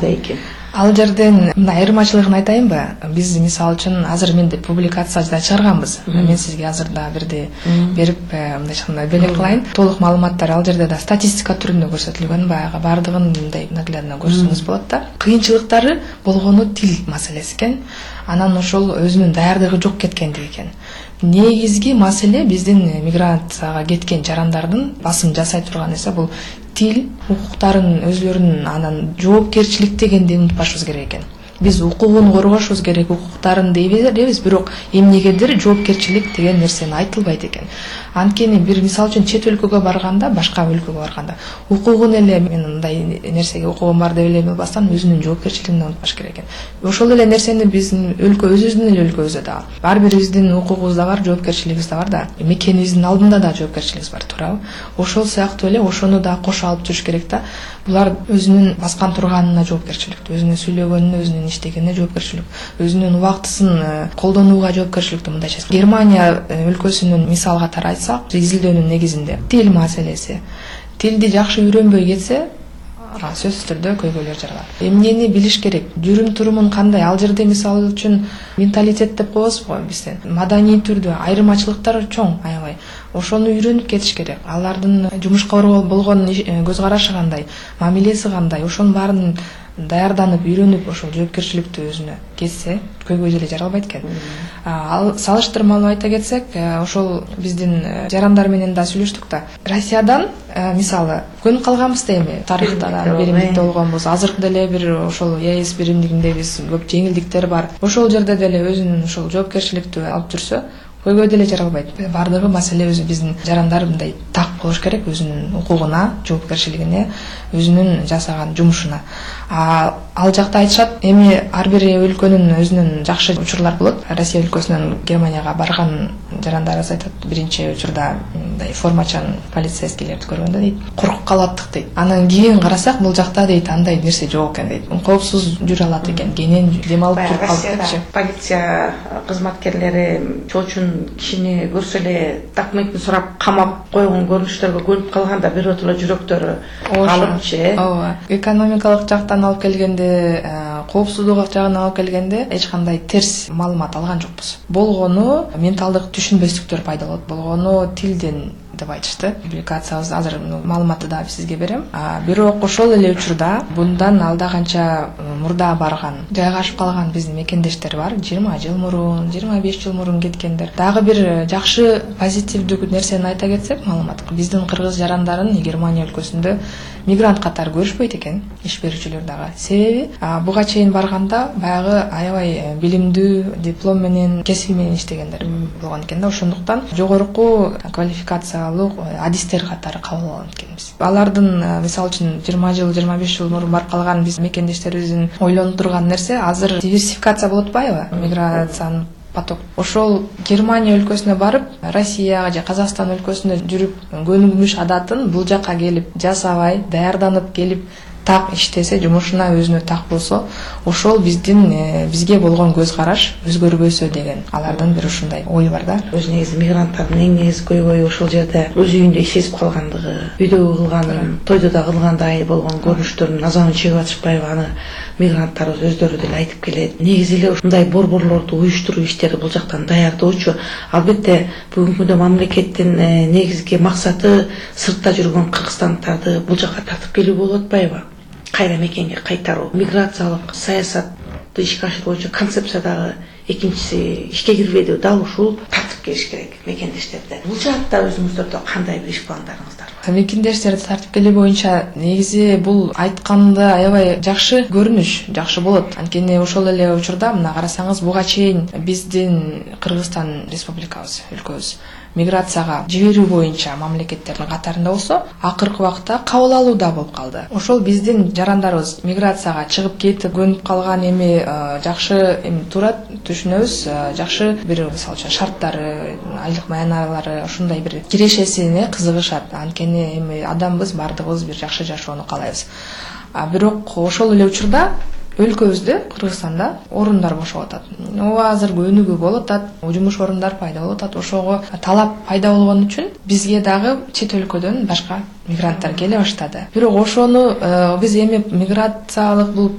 кандай экен? Ал жерден мындай айырмачылыгын айтайынбы? Биз мисалы үчүн азыр менде публикация да чыгарганбыз. Мен сизге азыр да бирде берип, мындай чыкканда белек кылайын. Толук маалыматтар ал жерде да статистика түрүндө көрсөтүлгөн, баягы бардыгын мындай наглядно көрсөңүз болот да. Кыйынчылыктары болгону тил маселеси экен. Анан ошол өзүнүн даярдыгы жок кеткендиги экен. Негизги маселе биздин миграцияга кеткен жарандардын басым жасай турган нерсе бул тил, укуктарын өзлөрүнүн анан жоопкерчилик дегенди унутпашыбыз керек экен. Биз укугун коргошубуз керек, укуктарын дейбиз, бирок эмнегедир жоопкерчилик деген нерсени айтылбайт экен. Анткени бир мисал үчүн чет өлкөгө барганда, башка өлкөгө барганда, укугун эле мен мындай нерсеге укугум бар деп эле болбастан өзүнүн жоопкерчилигин унутпаш керек экен. Ошол эле нерсени биздин өлкө өзүбүздүн эле өлкөбүздө да ар бирибиздин укугубуз да бар, жоопкерчилигибиз да бар да. Мекенибиздин алдында да жоопкерчилигибиз бар, туурабы? Ошол сыяктуу эле ошону да кошо алып жүрүш керек да. Булар өзүнүн баскан турганына жоопкерчилик, өзүнүн сүйлөгөнүнө, өзүнүн иштегенине жоопкерчилик, өзүнүн убактысын колдонууга жоопкерчиликти мындайча. Германия өлкөсүнүн мисал катары айтсак, изилдөөнүн негизинде тил маселеси. Тилди жакшы үйрөнбөй кетсе, сөзсүз түрдө көйгөйлөр жаралат. Эмнени билиш керек? Жүрүм турумун кандай? Ал жерде мисалы үчүн менталитет деп коебуз го бизден. Маданий түрдө айырмачылыктар чоң, аябай. Ошону үйрөнүп кетиш керек. Алардын жумушка болгон көз карашы кандай, мамилеси кандай, ошонун баарын даярданып, үйрөнүп, ошол жоопкерчиликти өзүнө кетсе, көйгөй деле жаралбайт экен. Ал салыштырмалуу айта кетсек, ошол биздин жарандар менен да сүйлөштүк да. Россиядан мисалы көнүп калганбыз да эми тарыхтан биримдикте болгонбуз. Азыркы деле бир ошол ЕС биримдигинде биз көп жеңилдиктер бар. Ошол жерде деле өзүнүн ошол жоопкерчиликти алып жүрсө, көйгөй деле жаралбайт. Бардыгы маселе өзү биздин жарандар мындай так болуш керек өзүнүн укугуна, жоопкерчилигине, өзүнүн жасаган жумушуна. Ал жакта айтышат, эми ар бир өлкөнүн өзүнүн жакшы учурлар болот. Россия өлкөсүнөн Германияга барган жарандарыбыз айтат, биринчи учурда мындай формачан полицейскийлерди көргөндө дейт, коркуп калаттык дейт. Анан кийин карасак, бул жакта дейт андай нерсе жок экен дейт. Коопсуз жүрө алат экен, кенен дем алып туруп калып. Полиция кызматкерлери чоочун кишини көрсө эле документин сурап камап койгон көрүнүштөргө көнүп калганда биротоло жүрөктөрү калыпчы. Ооба. Экономикалык жактан алып келгенде, коопсуздук жагынан алып келгенде эч кандай терс маалымат алган жокпуз. Болгону менталдык түшүнбөстүктөр пайда болот. Болгону тилден деп айтышты. Публикациябыз азыр маалыматты да сизге берем. Бирок ошол эле учурда bundan алда канча мурда барган, жайгашып калган биздин мекендештер бар. 20 жыл мурун, 25 жыл мурун кеткендер. Дагы бир жакшы позитивдүү нерсени айта кетсек, маалымат. Биздин кыргыз жарандарын Германия өлкөсүндө мигрант катары көрүшпөйт экен, иш берүүчүлөр дагы. Себеби буга чейин барганда баягы аябай билимдүү, диплом менен, кесип менен иштегендер болгон экен да. Ошондуктан жогорку квалификациялуу адистер катары кабыл алган экенбиз. Алардын мисалы үчүн 20 жыл, 25 жыл мурун барып калган биз мекендештерибиздин ойлонуп турган нерсе азыр диверсификация болуп атпайбы? Миграциянын поток. Ошол Германия өлкөсүнө барып, Россияга же Казакстан өлкөсүндө жүрүп, көнүгүш адатын бул жакка келип жасабай, даярданып келип так иштесе, жумушуна өзүнө так болсо, ошол бизге болгон көз караш өзгөрбөсө деген алардын бир ушундай ою бар да. Өз негизи мигранттардын эң негизги көйгөйү ошол жерде өз үйүндө сезип калгандыгы, үйдөгү кылганын, тойдо да кылгандай болгон көрүнүштөрдүн назарын чыгып атышпайбы, аны мигранттарыбыз өздөрү деле айтып келет. Негизи эле ушундай борборлорду уюштуруу иштери бул жактан даярдоочу. Албетте бүгүнкү күндө мамлекеттин негизги максаты сыртта жүргөн кыргызстандыктарды бул жакка тартып келүү болуп атпайбы? Кайра мекенге кайтаруу. Миграциялык саясатты ишке ашыруу боюнча концепция дагы экинчиси ишке кирбеди. Дал ушул тартып келиш керек мекендештерди. Бул жакта өзүңүздөрдө кандай бир иш пландарыңыздар бар? Мекендештерди тартып келүү боюнча негизи бул айтканда аябай жакшы көрүнүш, жакшы болот. Анткени ошол эле учурда мына карасаңыз, буга чейин биздин Кыргызстан республикабыз, өлкөбүз миграцияга жиберүү боюнча мамлекеттердин катарында болсо, акыркы убакта кабыл алууда болуп калды. Ошол биздин жарандарыбыз миграцияга чыгып кетип көнүп калган эми жакшы туура түшүнөбүз, жакшы бир мисалы үчүн шарттары, айлык маяналары, ушундай бир кирешесине кызыгышат. Анткени эми адамбыз, бардыгыбыз бир жакшы жашоону каалайбыз. Бирок ошол эле учурда өлкөбүздө, Кыргызстанда орундар бошоп атат. Азыр өнүгүү болуп атат, жумуш орундар пайда болуп атат. Ошого талап пайда болгон үчүн бизге дагы чет өлкөдөн башка мигранттар келе баштады. Бирок ошону биз эми миграциялык бул